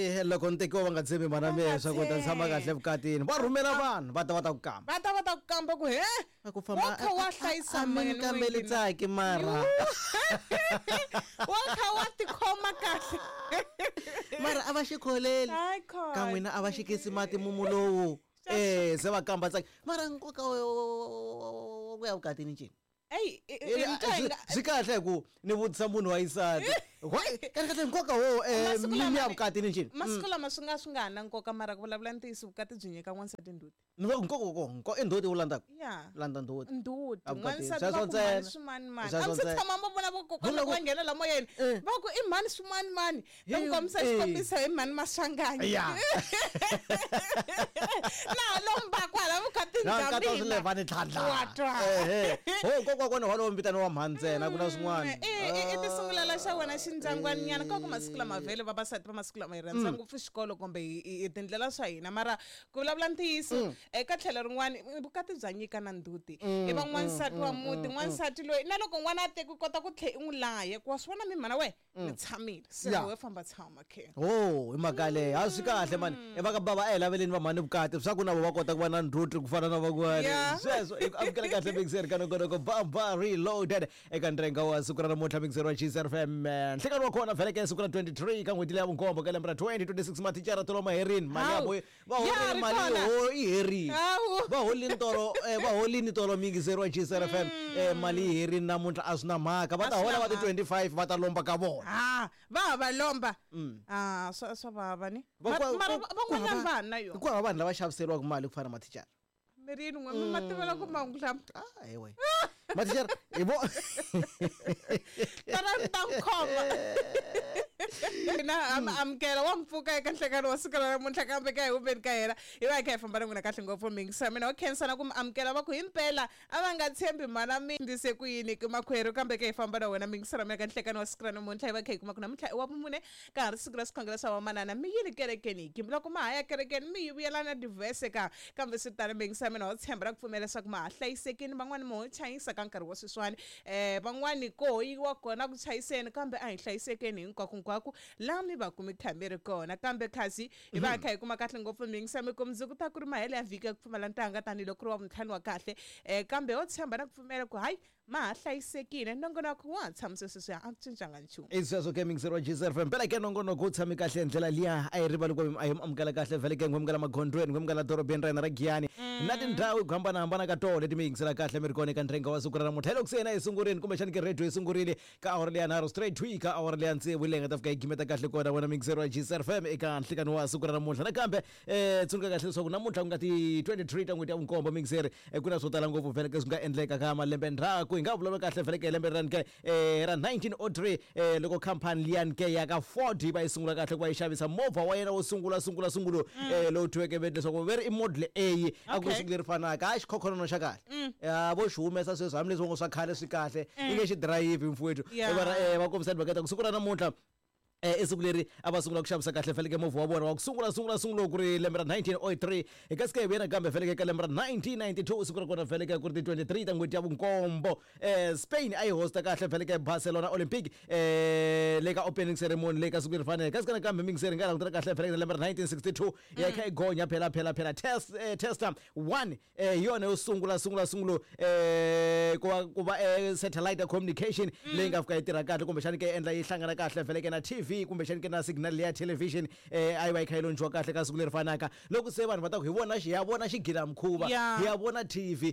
Eh, loko ni tekiwa va nga tshembi mhana Va mehe nga swa ku ta tshama tshembi. kahle vukatini va rhumela vanhu va ta va ta ku kamba Va ta va ta ku kamba ku he Va ku famba wa kha wa hlayisa a mi ni mani kambeli n'wini. tsaki mara Wa kha wa tikhoma kahle. Mara a va xi kholeli Hayi khona. ka n'wina a va xikisi mati mumu lowu eh se va kamba tsaki mara nkoka wa ku ya vukatini ncini Eyi, swi kahle hi ku ni vutisa munhu wa yisati kahle kahle nkoka wo Masiku mi lama ya ni- vukatini ncini masiku lama swi nga ha na nkoka mara ku vulavula ntiyiso vukati byi nyika n'wansati ndzhuti. Ni va ku nkoka wa kona i ndzhuti wu landzaka Ya. Landza ndzhuti Ndzhuti. A vukatini. N'wansati Sweswo va ku mhani ntsena. swimanimani. Sweswo A mi se ntsena. tshama mo vona vakokwana Vona loko ku- va nghena la moyeni Eh. va ku i mhani swimanimani va Hey, ku kombisa eh. xikombiso hi mhani Maswanganyi. Ya. Na lomba kwala vukatini Na bya nkata mina. swilevhani tlhandla Wa twa. ehe ho nkoka wa kona walowo vitaniwa mhani ntsena ku na swin'wana I ti sungulela xa wena xindyangwaninyana ka ku masiku lama vhele vavasati va masiku lama hi rhandza ngopfu xikolo kumbe hi tindlela swa hina mara ku vulavula ntiyiso eka tlhelo rin'wana vukati bya nyika na ndzhuti i va n'wansati wa muti n'wansati loyi na loko n'wana a teki u kota ku tlhe i n'wi laya ku wa swi vona mi mhana we ni tshamile se Ya. we famba tshama khe ho hi mhaka leyo a swi kahle mani i va ka bava a hi laveleni va mhani vukati swa ku na vo va kota ku va na ndzhuti ku fana na van'wana Yeah. sweswo i ku amukela kahle mixer ka nongonoko bamba reloaded eka ndrenga wa siku ra namuntlha mixer wa Gcr FM nhlekani wa kona vhele ke siku ra 23 ka n'hweti leya vunkombo ka lembe ra 2026 mathicara tolo maherini mali ya Hawu. vo va Ya horile ri mali kona. ho i herini Hawu. va holini tolo va holini tolo mixer wa Gcr FM mali yi herini namuntlha a swi na mhaka va A ta swi hola na va ti mhaka. 25 va ta lomba ka vona ha va ha va lomba a swa vava ni mara van'wanyana va ha na yona ku hava vanhu lava xaviseriwaka mali ku fana na mathicara mirini n'we mi ma tivela ku mahungu lama ah ewe mathicara hi vo tana ni ta n'wi khoma na amukela wa mpfuka eka nhlekano wa siku ra namuntlha kambe ka hi humeni ka hina hi va hi kha hi famba na n'wina kahle ngopfu mingisa mina wa khensa na ku mi amukela va ku himpela a va nga tshembi mhana mi ndise ku yini ki makwerhu kambe ka hi famba na wena mingisa ra mina ka nhlekano wa siku ra namuntlha hi va kha hi kuma ku namuntlha i wa vumune ka ha ri siku ra swikhongelo swa vamanana mi yini kerekeni hi loko ma ha ya kerekeni mi yi vuyela na divhese ka kambe swi tano mingisa mina wa tshemba ra ku pfumela leswaku ma ha hlayisekini van'wani mo ho chayisa ka nkarhi wa sweswiwani van'wani ko ho yiwa kona ku chayiseni kambe a hi hlayisekeni hinkwako laha mi va ku mi kha mi ri kona kambe kasi hi va hi kha hi kuma kahle ngopfu mingisa mi ku mundzuku ta ku ri mahelo ya vhiki ya ku pfumala ntanga tanihiloko ku ri wa vuntlhanu wa kahle kambe ho tshemba na ku pfumela ku hayi ma ha hlayisekile nongonoko wa ha tshamise sweswiya a ku cincanga nchumu i sweswo ke mixer wa Gcr FM phela ke nongonoko wu tshame kahle hi ndlela liya a yi rivali ku a hi mi amukela kahle vhele ke n'wamukela magondzweni n'wamukela dorobeni ra hina ra Giyani na tindhawu hi ku hambanahambana ka tona leti mi yingisela kahle mi ri kona eka ndrenga wa siku ra namuntlha hi loko se hina hi sungurini kumbexani ke radio yi sungurile ka awara leya nharhu straight to ka awara leya tsevu leyi nga ta fika yi gimeta kahle kona wena mixer wa Gcr FM eka nhlikani wa siku ra namuntlha nakambe tsundzuka kahle leswaku namuntlha ku nga ti 23 ta n'hweti ya vunkombo mixer ku na swo tala ngopfu vhele ke swi nga endleka ka malembe ndzhaku hi nga vulavula kahle vhele ke hi lembe rani ke ra 1903 loko khampani liyani ke ya ka Ford yi va yi sungula kahle ku va yi xavisa movha wa yena wo sungula sungula sungulo lowu thyiweke veti leswaku ve ri i model A a ku ri Okay. siku leri fanaka a xikhokhonono xa kahle ya vo xi humesa sweswi hambileswi va ngo swa khale swi kahle i nge xi dirayivhi mfowethu Yeah. Va kombisa timhaka ta ku siku ra namuntlha i siku leri a va sungula ku xavisa kahle feleke movha wa vona wa ku sungula sungula sungula ku ri lembe ra 1903 hi kasi ke hi vuya nakambe feleke ka lembe ra 1992 siku ra kona feleke ku ri ti 23 ta n'hweti ya vunkombo Spain a yi hosta kahle feleke Barcelona Olympic le ka opening ceremony le ka siku leri fanele kasi ka nakambe mingiseri nga langutela kahle feleke lembe ra 1962 ya kha yi gonya phela phela phela test tester 1 hi yona yo sungula sungula sungulo ku va satellite communication leyi nga fika yi tirha kahle kumbexani ke endla yi hlangana kahle vhele ke na TV kumbexani ke na signal ya television a yi va yi kha yi lontshiwa kahle ka siku leri fanaka loko se vanhu va ta ku hi vona xi ya vona xigila mukhuva Yeah. hi ya vona TV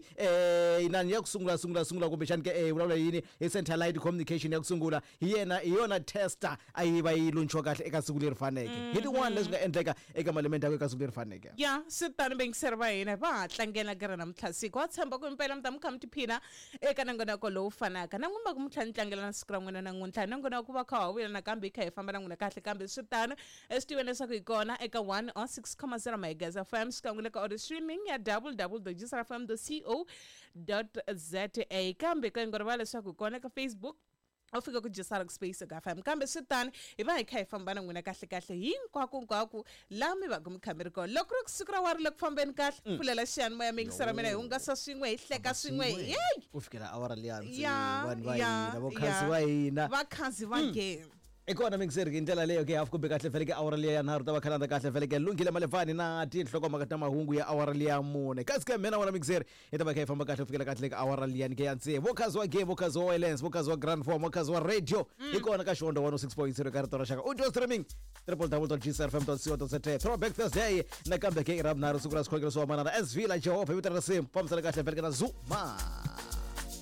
inani ya ku sungula sungula sungula kumbexani ke hi vulavula yini hi satellite communication ya ku sungula hi yena hi yona tester a yi va yi lontshiwa kahle eka siku leri faneke hi tin'wana leswi nga endleka eka malembe ndzhaku eka siku leri faneke Ya swi tano vayingiseri va hina va ha tlangela ka ra namuntlha siku wa tshemba ku impela mi ta mi kha mi tiphina eka nongonoko lowu fanaka na n'wina va ku mi tlhela ni tlangela na siku ra n'wina namuntlha nongonoko va kha wa vuya nakambe hi kha hi famba na n'wina kahle kambe swi tano swi tiveni leswaku hi kona eka 1 on 6,0 megahertz FM xikan'we le ka audio streaming ya www fm co za kambe ka ngo rivala leswaku hi kona eka Facebook u fika ku Jesark Space ka FM kambe swi tani hi va hi kha hi famba na n'wina kahle kahle hinkwako hinkwako laha mi va ku mi kha mi ri kona loko ri ku siku ra wa ri le ku fambeni kahle pfulela xiyanimoya mi yingisela mina hi hungasa swin'we hi hleka swin'we yeyi ku fikela awara liya ya vanhu va ya hina vokhansi ya. va hina vakhansi va game. I kona mixer hi ndlela leyo ke hafu kumbe kahle feleke awara liya ya nharhu ta va khalanda kahle feleke lunghile malevani na tinhlokomhaka ta mahungu ya awara liya mune. Kasi ke mina wona mixer hi ta va kha hi famba kahle ku fikela kahle ka awara liyani ke ya tsevu. Vokhazi wa game, vokhazi wa wireless, vokhazi wa grand form, vokhazi wa radio. Hi kona ka Xiondo 106.0 ka rito ra xaka. Audio streaming www.gcrfm.co.za. Throwback Thursday nakambe ke i ra vunharhu siku ra swikhongelo swa manana SV la Jehovha hi vito ra risimu fambisana kahle feleke na Zuma.